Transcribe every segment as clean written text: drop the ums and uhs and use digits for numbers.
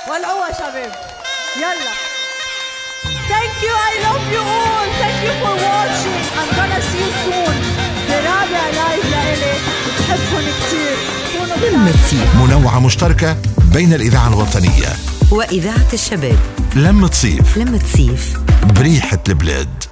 ولعوها شباب، يلا. Thank you, I love you all. Thank you for watching. I'm gonna see you soon. برابع live لإلي، بحبكم كتير. كونوا بخير. لمة صيف منوعة مشتركة بين الإذاعة الوطنية وإذاعة الشباب. لمة صيف. لمة صيف بريحة البلاد.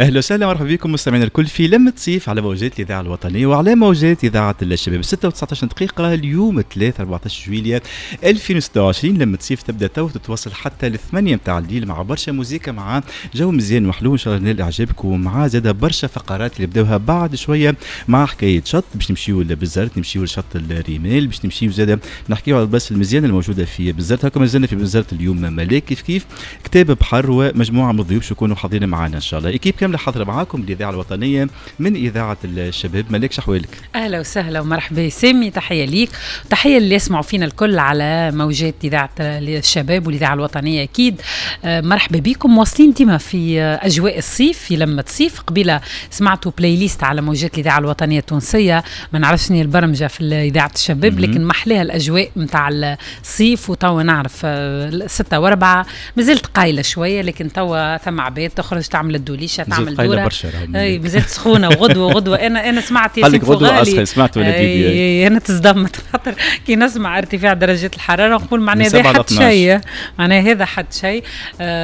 اهلا وسهلا، مرحبا بكم مستمعينا الكل في لمة صيف على موجات الاذاعة الوطنية وعلى موجات اذاعة الشباب. 6 و19 دقيقه، اليوم 3 14 جويلية 2026. لمة صيف تبدا تو تتواصل حتى ل8 متاع الليل مع برشا موزيكا، مع جو مزيان وحلو ان شاء الله نال اعجابكم، ومع زاد برشا فقرات اللي بداوها بعد شوية مع حكاية شط. باش نمشيو لبنزرت، نمشيو لشط الرمال، باش نمشيو زاد نحكيو على البلاصة المزيانه الموجودة في بنزرت. هكا مازلنا في بنزرت اليوم ملاك، كيف كيف كتاب بحر ومجموعة من الضيوف يكونوا حاضرين معنا ان شاء الله. équipe كاملة حاضره معاكم الاذاعة الوطنية من اذاعة الشباب. ملاك، شحوالك؟ اهلا وسهلا ومرحبا سامي، تحية ليك، تحية اللي يسمعوا فينا الكل على موجات اذاعة الشباب والاذاعه الوطنية اكيد. مرحبا بكم، واصلين ديما في اجواء الصيف في لمه صيف. قبيلة سمعتوا playlist على موجات الاذاعة الوطنية التونسيه، ما نعرفش شنو البرمجة في اذاعة الشباب، لكن محلاها الاجواء نتاع الصيف. وتوا نعرف 6:04 مازلت قايله شويه، لكن توا ثم عباد تخرج تعمل الدوليشه، تعمل دوره. برشا. اي مازالت سخونه، وغدوه غدوه انا سمعت ياسين غدوه اسخن، سمعت ولا فيديو؟ انا تصدمت، خاطر كي نسمع ارتفاع درجات الحرارة نقول معناها هذا حد شيء، معناها هذا حد شيء.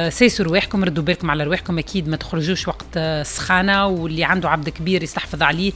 سيسوا رواحكم، ردوا بالكم على رواحكم، اكيد ما تخرجوش وقت السخانه، واللي عنده عبد كبير يستحفظ عليه.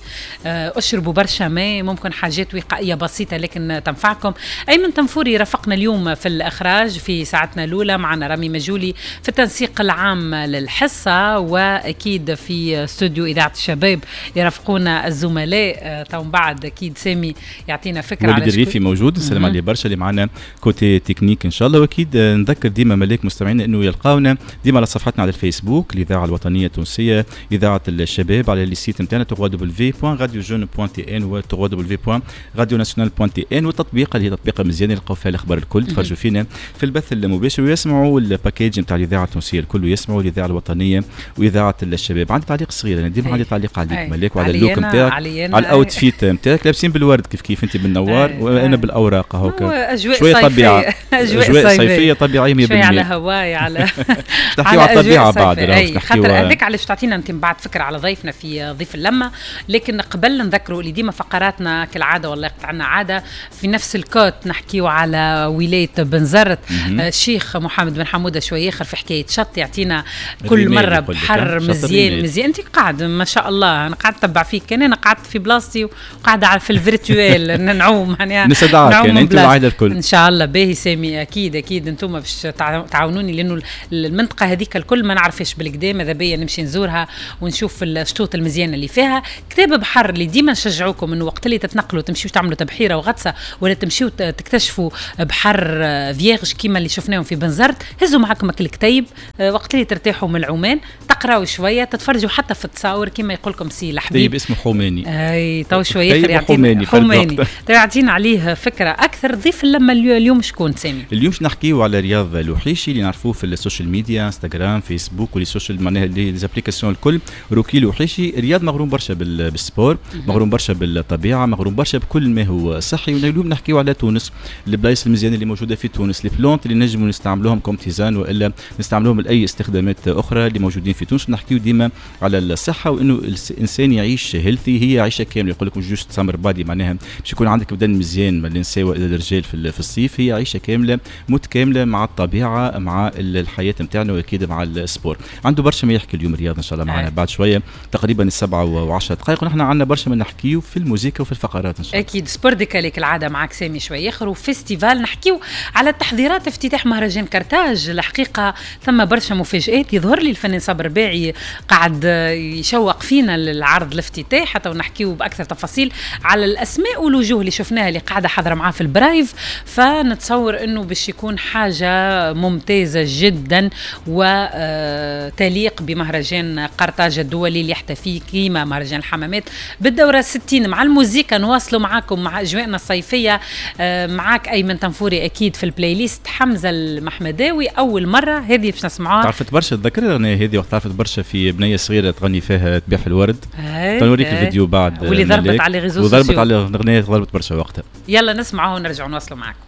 اشربوا برشا ماء، ممكن حاجات وقائيه بسيطة لكن تنفعكم. ايمن تنفوري رافقنا اليوم في الاخراج في ساعتنا الاولى، معنا رامي مجولي في التنسيق العام للحصه، واكيد في استوديو اذاعة الشباب يرافقونا الزملاء. تو بعد اكيد سامي يعطينا فكرة. وليد الريفي موجود، نسلم عليه برشا، اللي معنا côté technique ان شاء الله. واكيد نذكر ديما ملاك مستمعينا انه يلقاونا ديما على صفحتنا على الفيسبوك الاذاعة الوطنية التونسية اذاعة الشباب، على les sites نتاعنا www.radiojeune.tn و www.radionationale.tn، والتطبيق اللي هي تطبيقه مزيانه يلقاو فيها الاخبار الكل، تفرجوا فينا في البث المباشر ويسمعوا ال package نتاع الاذاعة التونسية الكل ويسمعوا الاذاعة الوطنية واذاعة الشباب. عندي تعليق صغير، انا ديما عندي تعليق عليك ملاك وعلى ال look نتاعك، على ال outfit نتاعك، لابسين بالورد كيف كيف، انت بالنوار وانا بالاوراق هوكا. اجواء طبيعة، اجواء صيفية طبيعية 100%. شوية على هواي على تحكيو على الطبيعة بعد. خاطر هذاك علاش تعطينا انت من بعد فكرة على ضيفنا في ضيف اللمه، لكن قبل نذكروا اللي ديما فقراتنا كالعادة، والله عندنا عادة في نفس الكوت نحكيو على ولاية بنزرت. الشيخ محمد بن حموده شوية اخر في حكاية شط يعطينا كل مرة بحر مزيان مزيان. انت قاعد ما شاء الله، انا قاعد نتبع فيك، كان انا قعدت في بلاصتي وقاعدة في ال virtuel نعوم، معناها نستدعاك يعني انت والعائلة الكل ان شاء الله. باهي سامي، اكيد اكيد انتم باش تعاونوني، لانه المنطقة هذيك الكل ما نعرفش بالكدا، ماذا بيا نمشي نزورها ونشوف الشطوط المزيانه اللي فيها. كتاب بحر اللي ديما نشجعوكم انه وقت اللي تتنقلوا تمشيو تعملوا تبحيره وغطسه ولا تمشيو تكتشفوا بحر vierge كيما اللي شفناهم في بنزرت، هزوا معكم الكتيب وقت اللي ترتاحوا من العمان، تقراوا شوية، تتفرجوا حتى في التصاور كيما يقول لكم سي الحبيب. طيب اسمه حوماني. اي تو شوية يعطينا حوماني يعطينا عليه فكرة اكثر. ضيف لما اليوم شكون سامي؟ اليوم باش نحكيو على رياض الوحيشي اللي نعرفوه في ال social media، انستغرام، فيسبوك و les social معناها les applications الكل. روكي الوحيشي، رياض مغروم برشا بال sport، مغروم برشا بالطبيعة، مغروم برشا بكل ما هو صحي. واليوم نحكيو على تونس، البلايص المزيانه اللي موجودة في تونس، les plantes اللي نجموا نستعملوهم comme tisane والا نستعملوهم لاي استخدامات اخرى اللي موجودين في تونس. نحكيو ديما على الصحة وانه الانسان يعيش healthy، هي عيشه كاملة. يقول لك مش juste summer body، معناها باش يكون عندك بدن مزيان من النساء والا الرجال في الصيف، هي عيشه كاملة متكاملة مع الطبيعة، مع الحياة نتاعنا، واكيد مع ال sport. عنده برشا ما يحكي اليوم رياض ان شاء الله معنا بعد شوية تقريبا 7:10، ونحن عندنا برشا ما نحكيو في الموسيقى وفي الفقرات ان شاء الله. اكيد sport décalé كالعادة معك سامي شوية اخر، و festival نحكيو على تحضيرات افتتاح مهرجان كرتاج. الحقيقة ثم برشا مفاجآت، يظهر لي الفنان صابر رباعي قاعد يشوق فينا للعرض الافتتاح، حتى ونحكيو باكثر تفاصيل على الاسماء والوجوه اللي شفناها اللي قاعدة حاضره معاه في ال live. فنتصور انه باش يكون حاجة ممتازة جدا وتليق بمهرجان قرطاج الدولي اللي يحتفي كيما مهرجان الحمامات بالدوره 60. مع الموزيكا نواصلوا معاكم مع اجواءنا الصيفية، معاك ايمن تنفوري اكيد في ال playlist، حمزة المحمداوي اول مرة هذه باش نسمعوها. نسمعوها. تعرفت برشا، تذكر الاغنية هذه وقت تعرفت برشا في بنيه صغيرة تغني فيها تبيع في الورد. نوريك الفيديو بعد. واللي ضربت على réseaux وضربت على الاغنيه، ضربت برشا وقتها. يلا نسمعوها ونرجعوا نواصلوا معكم.